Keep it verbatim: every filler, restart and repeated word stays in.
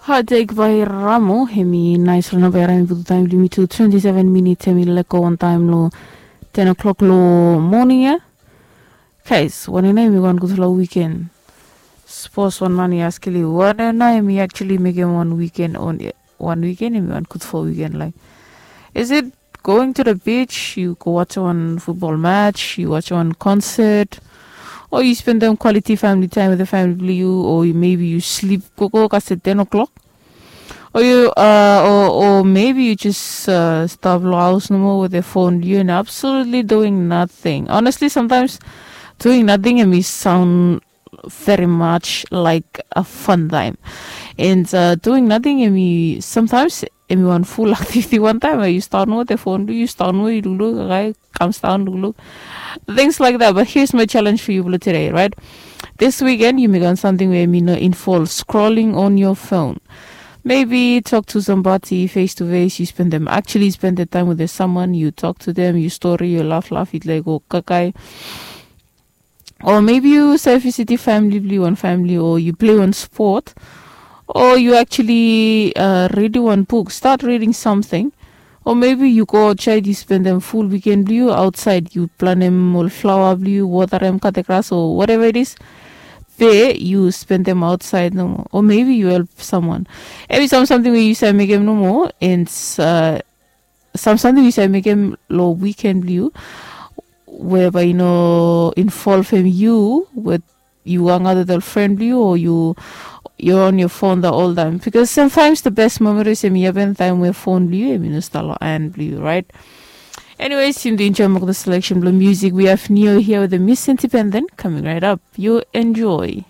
Hadek bai ramo hemi nais long namba ya rami putu taim blong yumi tu twenti seven minits hemi leko wantaim long ten o'clock long moning ya. Kais, wanem nao hemi wan gudfala wiken? Sapos wan man i askim yu wanem nao hemi actually mekem wan wiken on wan wiken hemi wan gudfala wiken, like, is it going to the beach, yu go wacha wan futbol match, yu wacha wan concert, o yu spendem quality family time with the family blong yu, o maybe yu slip gogo kasem ten o'clock, o yu uh, o, o maybe yu just uh, stap long haus nomo with the phone blong yu and absolutely doing nothing. Honestly, sometimes doing nothing hemi sound very much like a fun time. And uh, doing nothing hemi sometimes hemi wan full activity. One time uh, you start with the phone, you start with you look, okay, comes down, look, look, things like that. But here's my challenge for you today, right? This weekend you make on something where you know involve scrolling on your phone. Maybe talk to somebody face to face. You spend them actually spend the time with the someone. You talk to them. You story. You laugh, laugh. It like go kakai. O maybe yu save visiti famili blong yu, wan famili, o yu plei wan spot, o yu actually uh, reading wan buk, start reading something. O maybe yu go aotsaed, yu spendem ful wiken blong yu aotsaed, yu planem ol flaoa blong yu, watarem, kate gras, o whatever it is. Be yu spendem aotsaed nomo, o maybe yu help samwan. Evri sam samting we yu save mekem nomo, and uh, sam samting yu save mekem long wiken blong yu, we bae i no involvem yu, we yu hangaot with ol fren blong yu, o yu yu on your phone the whole time, because sometimes the best memories em i happen taem we phone blong yu em i no stap long hand blong yu, right? Anyways, yu enjoy mok the selection blong music. We have Neo here with the Miss Independent coming right up. You enjoy.